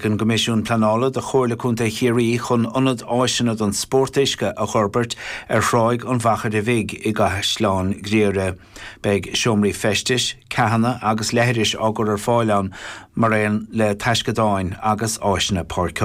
An gCoimisiún Pleanála do Chomhairle Contae Chiarraí chun ionad áiseanna don spórt uisce a fhorbairt ar Thráigh an Mhachaire Bhig i gCaisleán Ghriaire. Beidh seomraí feistis, ceathanna agus leithris á gcur ar fáil ann mar aon le taisceadáin agus áiseanna páirceála.